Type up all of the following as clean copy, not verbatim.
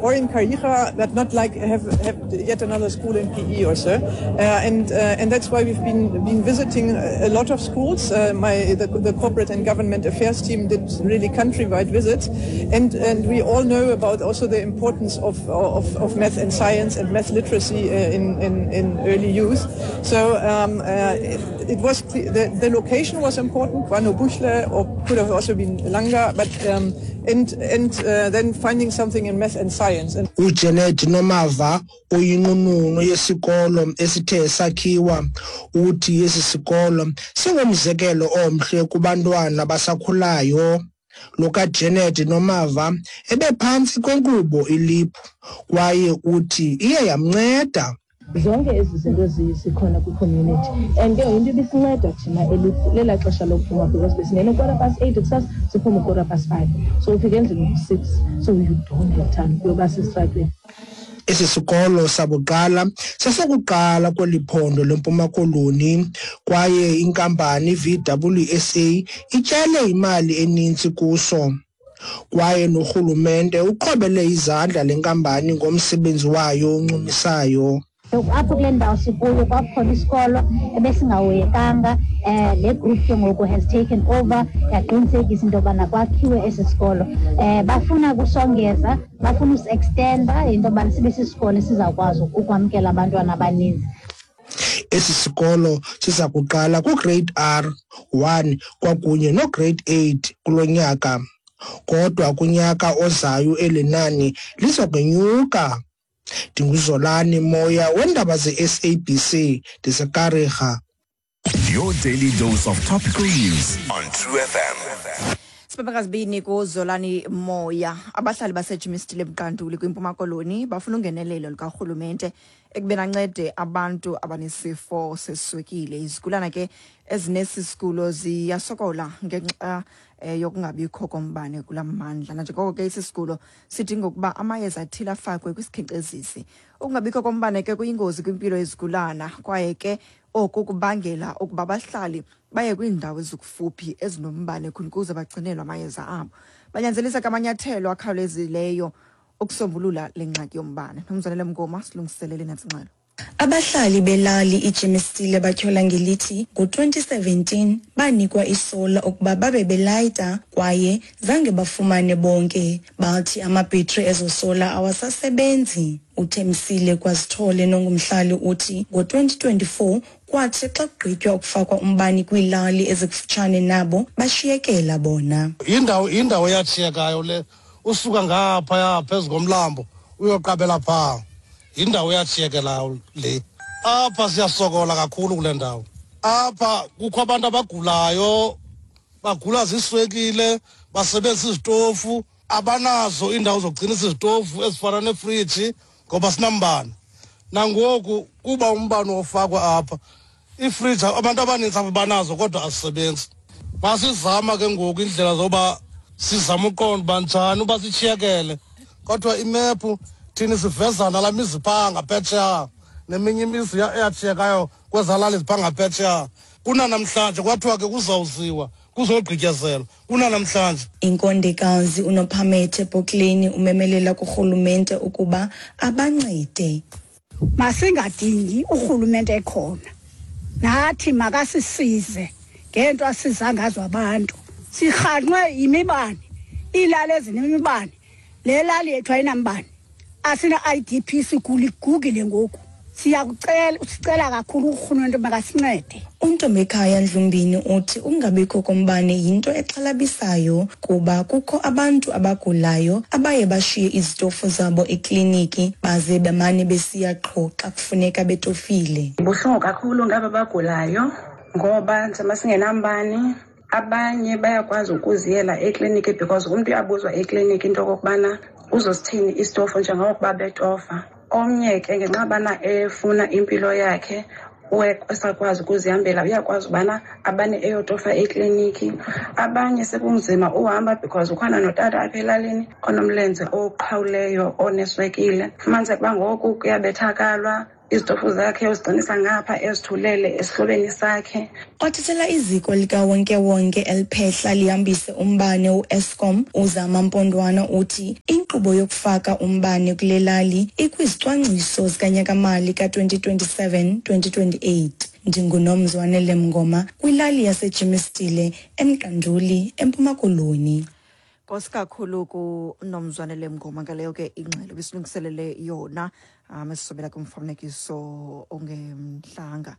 Or in Khayelitsha, but not like have yet another school in PE or so. And that's why we've been visiting a lot of schools. The corporate and government affairs team did really countrywide visits, and we all know about also the importance of math and science and math literacy in early youth. So the location was important, KwaNobuhle, or could have also been Langa, but and then finding something in math and science. And uJenet Nomava, oyinqununu yesikolo esithe sakhiwa, uthi esi sikolo singumzekelo omhle kubantwana abasakhulayo. Lo kaJenet Nomava ebephantsi kwenkqubo iLEAP kwaye uthi iye yamnceda. Zonke ezi zinto zikhona kwi-community, and ke into ibisinceda thina lelaa xesha lokuphuma, because besingena 8:15 kusasa, siphume 5:15, so ufika endlini ngo-6, so you don't have time yoba sesitratweni. Esi sikolo sabuqala sesokuqala kweli phondo leMpuma Koloni, kwaye inkampani VWSA ityale imali eninzi kuso, kwaye norhulumente uqhwabele izandla le nkampani ngomsebenzi wayo oncumisayo. Apho kule ndawo sikuyo kwakukhona isikolo ebesingahoyekanga. Le group ke ngoku has taken over, yaqinisekisa into yobana kwakhiwe esi sikolo. Bafuna kusongeza, bafuna usi-extenda into yobana sibe sisikolo esizawukwazi ukwamkela abantwana abaninzi. Esi sikolo siza kuqala kuGrade R 1 kwakunye noGrade 8 kulo nyaka, kodwa kunyaka ozayo eli nani liza kwenyuka. NdinguZolani Moya wendaba ze-SABC, ndiseKariga. Your daily dose of topical news on True FM. Sibabakazibini kuZolani Moya. Abahlali baseGermiston eMqanduli kwiMpuma Koloni bafuna ungenelelo lukarhulumente ekubeni ancede abantu abanesifo seswekile. Izigulana ke ezinesi sigulo ziyasokola ngenxa yokungabikho kombane kula mmandla, nanjengoko ke esi sigulo sidinga ukuba amayeza athile afakwe kwisikhenkcezisi. Ukungabikho kombane ke kuyingozi kwimpilo yezigulana, kwaye ke oku kubangela ukuba abahlali baye kwiindawo ezikufuphi ezinombane khona ukuze bagcinelwe amayeza abo. Banyanzelisa ke amanyathelo akhawulezileyo ukusombulula le ngxaki yombane. Nomzanele Mngoma silungiselele nantsi ingxelo. Abahlali belali iGermiston batyhola ngelithi ngo-2017 banikwa isola ukuba babe belayita, kwaye zange bafumane bonke. Bathi amabhetri ezo sola awasasebenzi. UThemsile Kwazithole nongumhlali uthi ngo-2024 kwathi xa kugqitywa ukufakwa umbani kwiilali ezikufutshane nabo, bashiyekela bona. Indawo eyatshiyekayo le, usuka ngaphaya phezu komlambo uyoqabela phaa, yindawo eyatshiyekelayo le. Apha siyasokola kakhulu kule ndawo. Apha kukho abantu abagulayo, bagula ziswekile, basebenzisa izitofu, abanazo iindawo zokugcinisa izitofu ezifana nefriji ngoba sinambane. Nangoku kuba umbane ofakwa apha, iifriji abantu abanintsi apha banazo kodwa azisebenzi. Masizama ke ngoku iindlela zoba sizama uqonda uba njani uba sitshiyekele, kodwa imephu thini sivezana laa mizi phaa ngaphetsheya neminye imizi eyatshiyekayo kwezaa lali ziphaa ngaphetsheya. Kunanamhlanje kwathiwa ke kuzawuziwa kuzogqityezelwa, kunanamhlanje. Inkondekazi uNophamethe Bokleni umemelela kurhulumente ukuba abancede. Masingadingi urhulumente ekhona, nathi makasisize ngento asiza ngazo abantu. Sirhanqwe yimibane, iilali ezinemibane, le lali yethu ayinambane, asina-IDP, sigula igugile ngoku. Siyakucela, sicela kakhulu urhulumente makasincede. UNtombekhaya Ndlumbini uthi ukungabikho kombane yinto exhalabisayo kuba kukho abantu abagulayo abaye bashiye izitofu zabo ekliniki baze bemane besiya qho xa kufuneka betofile. Buhlungu kakhulu ngaba bagulayo ngoba njengoba singenambane, abanye bayakwazi ukuziyela ekliniki because umntu uyabuzwa ekliniki into okokubana uzosithini isitofu njengokuba betofa. Omnye ke ngenxa yobana efuna impilo yakhe esakwazi ukuzihambela, uyakwazi ubana abane eyotofa ekliniki. Abanye sekunzima uhamba because ukhona notata apha elalini onomlenze oqhawuleyo oneswekile, fumaniseke uba ngoku kuyabethakalwa. Izitofu zakhe uzigcinisa ngapha, ezithulele esihlobeni sakhe. Othethela iziko likawonkewonke eliphehla lihambise umbane uEskom, uZama Mpondwana, uthi inkqubo yokufaka umbane kule lali ikwizicwangciso zikanyaka-mali ka-2027-2028. Ndingunomzwanele Mngoma kwilali yaseJimistile eMqanduli, eMpuma Koloni. Nkosi kakhulu kunomzwanele Mngoma ngaleyo ke ingxelo besilungiselele yona, esisobela kumfanekiso ongemhlanga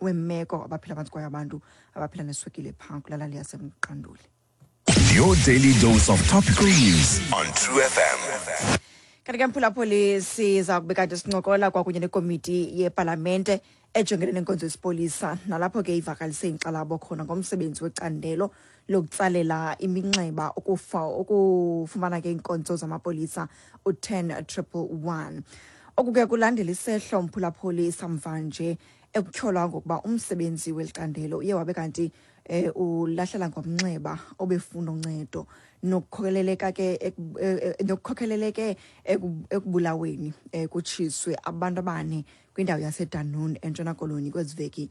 wemeko abaphila phantsi kwayo abantu abaphila neswekile phaa kulalali yaseMqanduli. Your daily dose of topical news on True FM. Kanti ke, mphulaphuli, siza kube kanti sincokola kwakunye nekomiti yepalamente ejongene nenkonzo yesipolisa, nalapho ke ivakalise inkxalabo khona ngomsebenzi wecandelo lokutsalela iminxeba ukufa ukufumana ke iinkonzo zamapolisa u-10 111. Oku ke kulandela isehlo, mphulaphuli, samvanje ekutyholwa ngokuba umsebenzi weli candelo uye wabe kanti ulahlela ngomnxeba obefuna uncedo nokukhokeleleka ke nokukhokheleleke ekubulaweni kutshiswe abantu abane kwindawo yaseDunoon eNtshona Koloni kwezi veki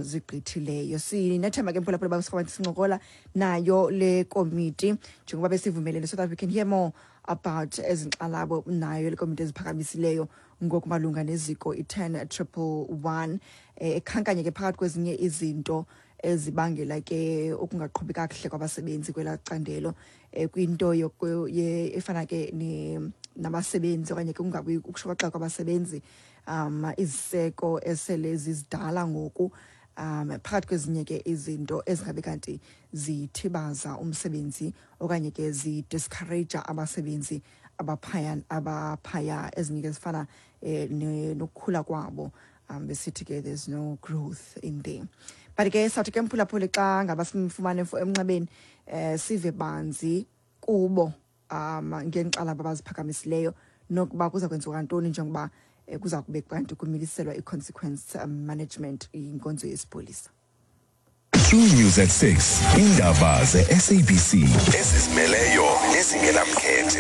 zigqithileyo. Sinethemba ke, mphulaphula, uba sincokola nayo le komiti njengoba besivumelene so that we can hear more about ezi nkxalabo nayo le komiti eziphakamisileyo ngokumalunga neziko i-10 111, ekhankanye ke phakathi kwezinye izinto ezibangela ke ukungaqhubi kakuhle kwabasebenzi kwelaa candelo, kwinto efana ke nabasebenzi okanye ke kungabi ukushokoxeka kwabasebenzi, iziseko esele zizidala ngoku, phakathi kwezinye ke izinto ezingabe kanti zithibaza umsebenzi okanye ke zidiscourage abasebenzi abaphaya, ezinye ke zifana nokukhula kwabo, besithi ke there's no growth in there. But ke sawuthi ke, mphulaphuli, xa ngaba simfumane emnxebeni sive banzi kubo ngeenkxalabo abaziphakamisileyo nokuba kuza kwenziwa ntoni njengoba kuza kube kanti kumiliselwa i-consequence management inkonzo yesipolisa. True News at 6. Indaba ze-SABC ezizimeleyo nezingenamkhethe.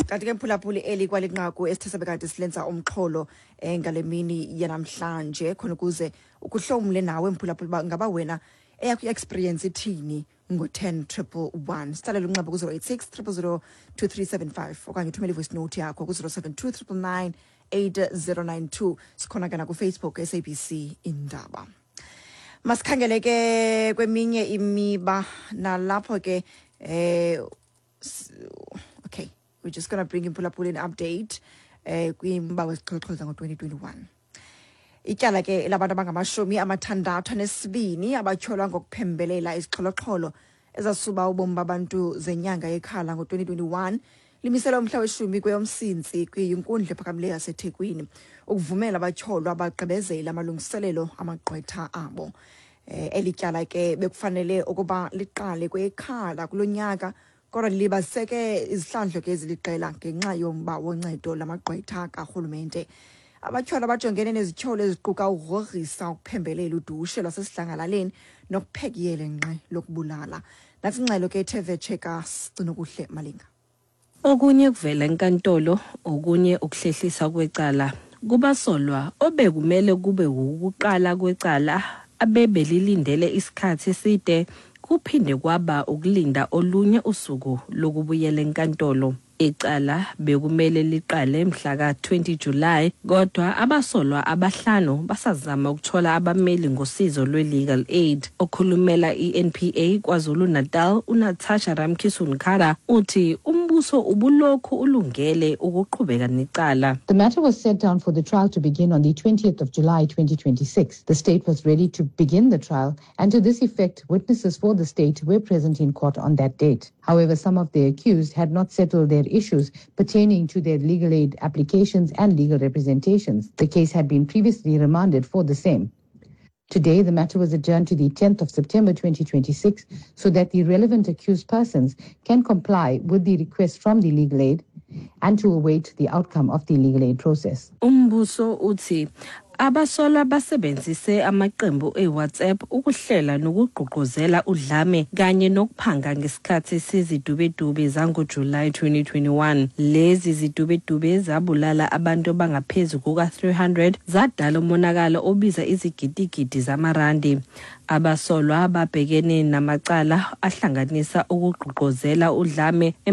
Kanti ke, mphulaphuli, eli kwalinqaku esithe sabe kanti silenza umxholo ngale mini yanamhlanje khona ukuze ukuhlomle nawe, mphulaphuli, uba ngaba wena eyakho i-experience ithini ngo-10 111. Sitsalele unxeba ku-086 000 2375 okanye uthumele i-voice note yakho ku-072 999 8092. Sikhona ke nakuFacebook, SABC Indaba. Masikhangele ke kweminye imiba nalapho ke okay, we're just gonna bring imphulaphula an update kwimba wezixhoxhoza ngo-2021. Ityala ke labantu abangama-62 abatyholwa ngokuphembelela izixholoxholo ezasuba ubomi babantu zenyanga yeKhala ngo-2021 limiselwe umhla weshumi kweyoMsintsi kwinkundla ephakamileyo yaseThekwini ukuvumela abatyholwa bagqibezele amalungiselelo amagqwetha abo. Eli tyala ke bekufanele ukuba liqale kweyeKhala kulo nyaka, kodwa libaziseke izihlandlo ke eziliqela ngenxa yomba woncedo lamagqwetha karhulumente. Abatyholwa bajongene nezityholo eziquka ukugrogrisa, ukuphembelela udushe lwasesidlangalaleni nokuphekiyele nqe lokubulala. Nantsi ingxelo ke ethe vetshe kaSigcinokuhle Malinga. Okunye kuvela enkantolo, okunye ukuhlehlisa kwecala kubasolwa obekumele kube ukuqala kwecala abebelilindele isikhathi eside, kuphinde kwaba ukulinda olunye usuku lokubuyela enkantolo. Icala bekumele liqale mhla ka-20 July, kodwa abasolwa abahlanu basazama ukuthola abameli ngosizo lwe-legal aid. Okhulumela i-NPA KwaZulu-Natal, uNatasha Ramkisson-Kara, uthi umbuso ubulokhu ulungele ukuqhubeka necala. The matter was set down for the trial to begin on the 20th of July 2026. The state was ready to begin the trial, and to this effect, witnesses for the state were present in court on that date. However, some of the accused had not settled their issues pertaining to their legal aid applications and legal representations. The case had been previously remanded for the same. Today, the matter was adjourned to the 10th of September 2026 so that the relevant accused persons can comply with the request from the legal aid and to await the outcome of the legal aid process. Umbuso uthi Abasolwa basebenzise amaqembu e-WhatsApp ukuhlela nokugqugquzela udlame kanye nokuphanga ngesikhathi sezidubedube zangoJulayi 2021. Lezi zidubedube zabulala abantu abangaphezu kuka-300, zadala umonakalo obiza izigidigidi zamarandi. Abasolwa babhekene namacala ahlanganisa ukugqugquzela udlame.